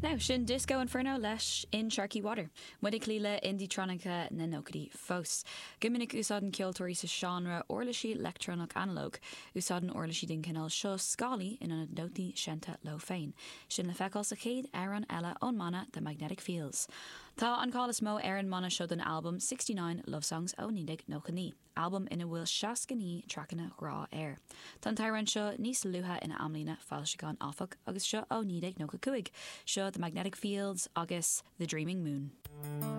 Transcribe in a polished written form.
Now, sin Disco Inferno leis In Sharky Water. Muid ag cloí le indietronica na nóchaidí fós. Go minic úsáideann ceoltóirí sa seánra uirlisí leictreonach analóg. Úsáideann uirlisí den chineál seo scálaí in ionad nótaí seinnte leo féin. Sin le feiceáil sa chéad amhrán eile ón mbanna The Magnetic Fields. Tá an cáil is mó ar an mbanna seo don albam 69 Love Songs ó 1999. albam ina bhfuil 69 traiceanna grá air. Tá an t-amhrán seo níos luaithe ina amlíne foilseacháin áfach, agus seo ó 1995. Seo The Magnetic Fields agus The Dreaming Moon.